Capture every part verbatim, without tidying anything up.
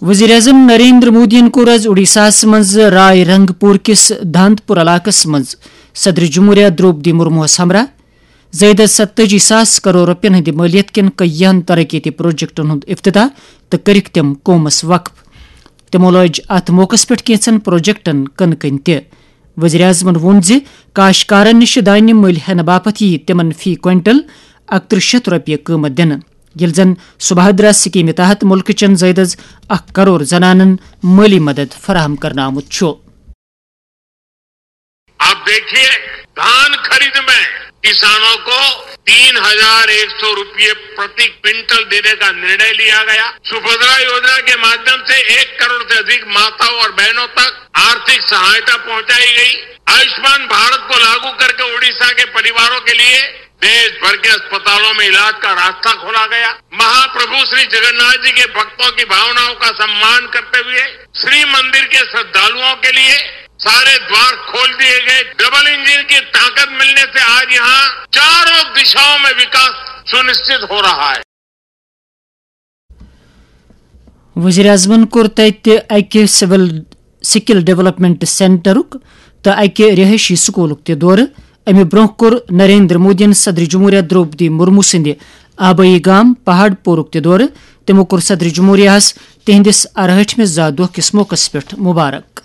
وزیر اعظم نریندر مودیَن کوٚر آز اوڈیشاہَس منٛز رائے رنگ پور کِس دھانت پور علاقَس منٛز صدر جمہوریہ درٛوپدی مرموہَس ہمراہ زائیدس ستٲجی ساس کرور رۄپین ہٕنٛدِ مٲلیت کٮ۪ن کٔیہن ترقیتی پروجیکٹن ہُنٛد افتتاح تہٕ کٔرِکھ تِم قومس وقف۔ تِمو لٲج اتھ موقعس پٮ۪ٹھ کینٛژن پروجیکٹن کٕنہٕ کٔنۍ تہِ۔ وزیر اعظمن ووٚن زِ کاشتکارن نِش دانہِ مٔلۍ ہٮ۪نہٕ باپتھ یِیہِ تِمن فی کوئنٹل اکترٕہ شیتھ رۄپیہِ قۭمتھ دِنہٕ، ییٚلہِ زن سبھادرا سکیمہِ تحت مُلکہٕ چٮ۪ن زائیدس اکھ کرور زنانن مٲلی مدد فراہم کرنہٕ آمُت چھُ۔ आप देखिए, धान खरीद में किसानों को तीन हजार एक सौ रुपये प्रति क्विंटल देने का निर्णय लिया गया। सुभद्रा योजना के माध्यम से एक करोड़ से अधिक माताओं और बहनों तक आर्थिक सहायता पहुंचाई गई। आयुष्मान भारत को लागू करके उड़ीसा के परिवारों के लिए देश भर के अस्पतालों में इलाज का रास्ता खोला गया। महाप्रभु श्री जगन्नाथ जी के भक्तों की भावनाओं का सम्मान करते हुए श्री मंदिर के श्रद्धालुओं के लिए सारे द्वार खोल दिए गए। डबल इंजन की ताकत मिलने से आज यहाँ चारों दिशाओं में विकास सुनिश्चित हो रहा है। وزیر اعظمن کوٚر تتہِ اکہِ سول سکل ڈیولپمنٹ سینٹرُک تہٕ اکہِ رہٲیشی سکولُک تہِ دورٕ۔ امہِ برونٛہہ کوٚر نریندر مودیَن صدر جمہوریہ درٛوپدی مرمو سٕنٛدِ آبٲیی گام پہاڑ پورُک تہِ دورٕ۔ تِمو کوٚر صدر جمہوریہَس تِہنٛدِس ارہٲٹھمِس زا دۄہ کِس موقعس پٮ۪ٹھ مبارک۔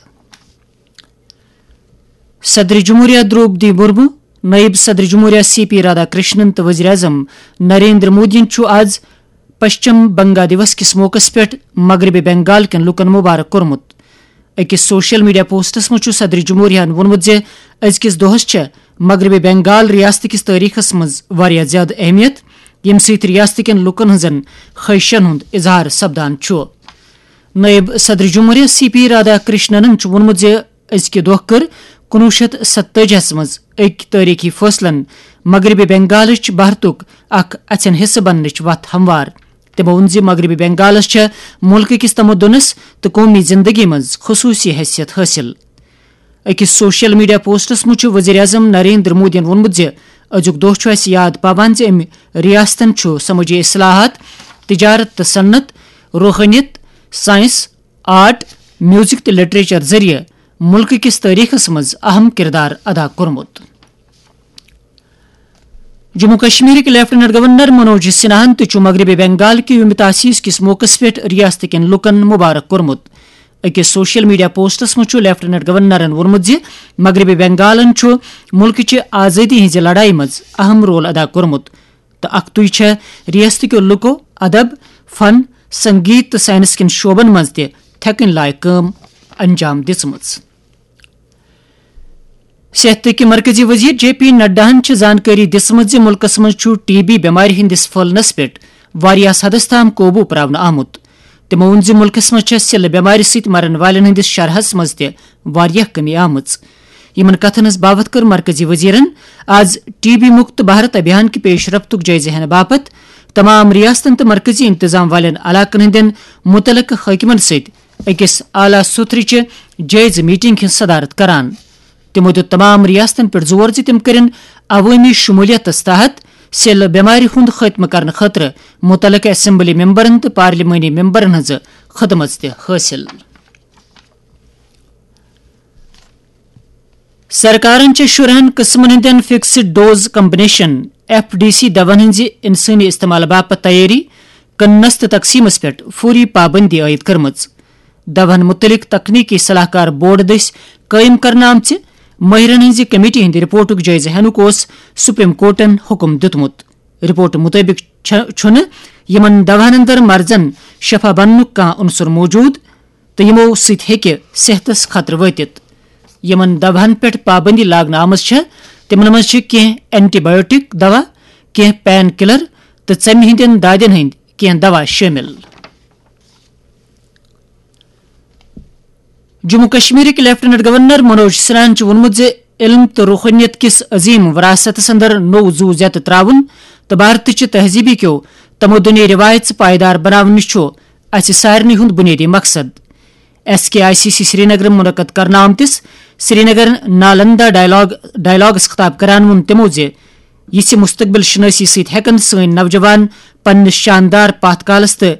صدر جمہوریہ درٛوپدی مرمو، نائب صدر جمہوریہ سی پی رادھا کرشنن تہٕ وزیر اعظم نریندر مودیَن چھُ آز پشچم بنگا دیوس کِس موقعس پٮ۪ٹھ مغربی بنگال کٮ۪ن لوٗکَن مبارک کوٚرمُت۔ أکِس سوشل میڈیا پوسٹس منٛز چھُ صدر جمہوریہَن ووٚنمُت زِ أزکِس دۄہَس چھےٚ مغربی بنگال ریاست کِس تٲریخس منٛز واریاہ زیادٕ اہمیت، ییٚمہِ سۭتۍ ریاست کٮ۪ن لوٗکَن ہٕنٛزن خواہشن ہُنٛد اظہار سپدان چھُ۔ نائب صدر جمہوریہ سی پی رادھا کرشننن چھُ ووٚنمُت زِ أزکہِ دۄہ کٔر کُنوُہ شیتھ ستٲجی ہَس منٛز أکۍ تٲریخی فٲصلن مغربی بنگالٕچ بھارتُک اکھ اَژھٮ۪ن حصہٕ بننٕچ وتھ ہموار۔ تِمو ووٚن زِ مغربی بنگالس چھےٚ مُلکہٕ کِس تمدنس تہٕ قومی زندگی منٛز خصوٗصی حیثیت حٲصِل۔ أکِس سوشل میڈیا پوسٹس منٛز چھُ وزیر اعظم نریندر مودیَن ووٚنمُت زِ أزیُک دۄہ چھُ اَسہِ یاد پاوان زِ أمۍ ریاستن چھُ سمٲجی اصلاحات، تجارت تہٕ صنعت، روحٲنیت، سائنس، آرٹ، میوزک تہٕ لٹریچر ذٔریعہٕ مُلکہٕ کِس تٲریخس منٛز اہم کردار ادا کوٚرمُت۔ جموں کشمیرٕکۍ لیفٹیننٹ گورنر منوج سنہاہن تہِ چھُ مغربی بنگال کہِ یوم تاسیس کِس موقعس پٮ۪ٹھ ریاست کٮ۪ن لوٗکَن مبارک کوٚرمُت۔ أکِس سوشل میڈیا پوسٹس منٛز چھُ لیفٹیننٹ گورنرن ووٚنمُت زِ مغربی بنگالن چھُ مُلکٕچہِ آزٲدی ہٕنٛزِ لڑایہِ منٛز اہم رول ادا کوٚرمُت تہٕ اکھتُے چھےٚ ریاستٕکیو لوٗکو ادب، فن، سنگیت تہٕ سائنس کٮ۪ن شعبن منٛز تہِ تھٮ۪کٕنۍ لایق کٲم انجام دِژمٕژ۔ صحتٕکۍ مرکزی وزیر جے پی نڈاہن چھِ زانکٲری دِژمٕژ زِ مُلکَس منٛز چھُ ٹی بی بٮ۪مارِ ہٕنٛدِس پھٔہلنَس پٮ۪ٹھ واریاہَس حدَس تام قوبوٗ پراونہٕ آمُت۔ تِمَو ووٚن زِ مُلکَس منٛز چھےٚ سِلہٕ بٮ۪مارِ سۭتۍ مرن والٮ۪ن ہٕنٛدِس شرحَس منٛز تہِ واریاہ کمی آمٕژ۔ یِمَن کَتھَن ہٕنٛز باوَتھ کٔر مرکزی وزیرَن آز ٹی بی مُکت بھارت ابھیان کہِ پیش رفتُک جٲیزٕ ہٮ۪نہٕ باپتھ تمام ریاستَن تہٕ مرکزی انتظام والٮ۪ن علاقَن ہٕنٛدٮ۪ن مُتعلقہٕ حٲکمَن سۭتۍ أکِس اعلیٰ سطحٕچہِ جٲیزٕ میٹنگ ہٕنٛز صدارت کران۔ تِمو دیُت تمام ریاستن پٮ۪ٹھ زور زِ تِم کٔرِن عوٲمی شمولیتس تحت سیلہٕ بٮ۪مارِ ہُنٛد خٲتمہٕ کرنہٕ خٲطرٕ مُتعلقہٕ اسمبلی ممبرن تہٕ پارلیمانی ممبرن ہٕنٛز خدمت تہِ حٲصِل۔ سرکارن چھِ شُرہن قٕسمن ہٕنٛدٮ۪ن fixed dose combination, F D C, دواہن ہٕنٛزِ انسٲنی استعمال باپتھ تیٲری، کٕننس تہٕ تقسیمس پٮ۪ٹھ فوری پابندی عائد کٔرمٕژ۔ دواہن مُتعلق تکنیکی صلاح کار بورڈ دٔسۍ قٲیِم کرنہٕ آمژِ مٲہرن ہٕنٛزِ کمیٹی ہٕنٛدِ رپورٹُک جٲیزٕ ہینُک اوس سپریم کورٹن حکم دیُتمُت۔ رپورٹ مُطٲبِق چھَ-، چھُنہٕ یِمَن دواہَن اندر مرضَن شفا بننُک کانٛہہ عنصر موجود تہٕ یِمو سۭتۍ ہیٚکہِ صحتَس خطرٕ وٲتِتھ۔ یِمَن دواہَن پٮ۪ٹھ پابندی لاگنہٕ آمٕژ چھےٚ، تِمَن منٛز چھِ کینٛہہ اینٹی بایوٹک دوا، کینٛہہ پین کلر تہٕ ژَمہِ ہٕنٛدٮ۪ن دادٮ۪ن ہٕنٛدۍ کینٛہہ دوا شٲمِل۔ جموں کشمیرٕکۍ لیفٹیننٹ گورنر منوج سنہاہن چھُ ووٚنمُت زِ علم تہٕ روحٲنیت کِس عظیم وراثتس اندر نوٚو زُو زیتہٕ تراوُن تہٕ بھارتٕچہِ تہذیٖبی کیو تمدنی رِوایژٕ پائیدار بناونٕچ چھُ اسہِ سارنٕے ہُنٛد بُنیٲدی مقصد۔ S K I C C سرینگرٕ منعقد کرنہٕ آمتِس سرینگر نالندہ ڈائیلاگ، ڈائیلاگس خطاب کران ووٚن تِمو زِ یِژھِ مستقبل شناسی سۭتۍ ہٮ۪کن سٲنۍ نوجوان پننِس شاندار پتھ کالس تہٕ